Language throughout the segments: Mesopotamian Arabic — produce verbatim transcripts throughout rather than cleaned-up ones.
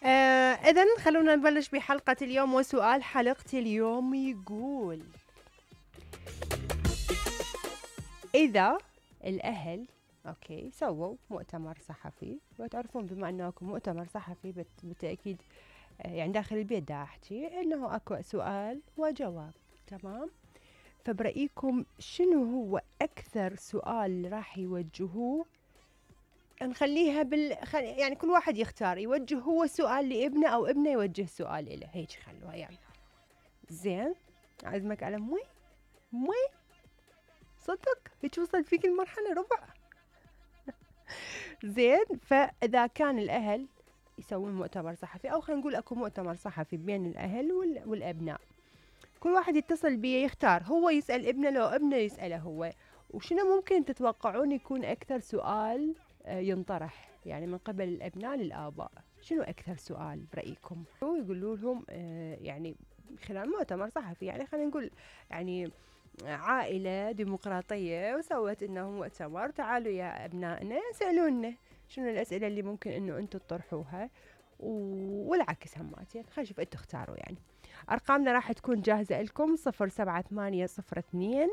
آه إذن خلونا نبلش بحلقة اليوم، وسؤال حلقة اليوم يقول: إذا الأهل أوكي سووا مؤتمر صحفي، وتعرفون بما أنه أكو مؤتمر صحفي بت- بالتأكيد آه، يعني داخل البيت دا أحكي إنه أكو سؤال وجواب، تمام؟ فبرأيكم شنو هو أكثر سؤال راح يوجهوه؟ نخليها بال خل... يعني كل واحد يختار يوجه هو سؤال لابنه أو ابنه يوجه سؤال له، هيك خلوها يعني. زين، عزمك على مي مي صدق هيك وصل فيك المرحلة ربع. زين، فإذا كان الأهل يسوون مؤتمر صحفي، أو خلينا نقول أكو مؤتمر صحفي بين الأهل وال... والأبناء، كل واحد يتصل بيه يختار هو يسأل ابنه لو ابنه يسأله هو. وشنو ممكن تتوقعون يكون أكثر سؤال آه، ينطرح يعني من قبل الأبناء للآباء؟ شنو أكثر سؤال برأيكم؟ ويقولوا لهم آه، يعني خلال مؤتمر صحفي، يعني خلينا نقول يعني عائلة ديمقراطية وسوت إنه مؤتمر، تعالوا يا أبنائنا سألونا شنو الأسئلة اللي ممكن إنه أنتم تطرحوها، والعكس هماتين. خلينا نشوف أنتم اختاروا يعني. أرقامنا راح تكون جاهزة لكم: صفر سبعة ثمانية صفر اثنين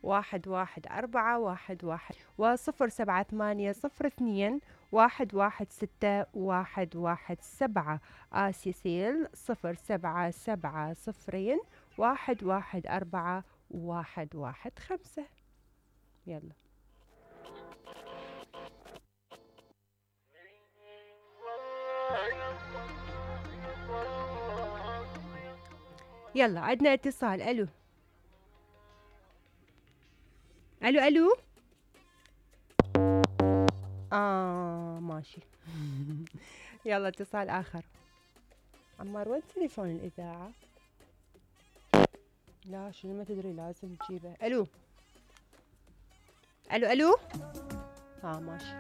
واحد واحد أربعة واحد واحد، وصفر سبعة ثمانية صفر اثنين واحد واحد ستة واحد واحد سبعة. آسيا سيل صفر سبعة سبعة صفرين واحد واحد أربعة واحد واحد خمسة. يلا يلا عندنا اتصال. ألو ألو ألو. آه ماشي. يلا اتصال آخر. عمار وين تليفون الإذاعة؟ لا شنو ما تدري لازم تجيبه. ألو ألو ألو. ها آه ماشي.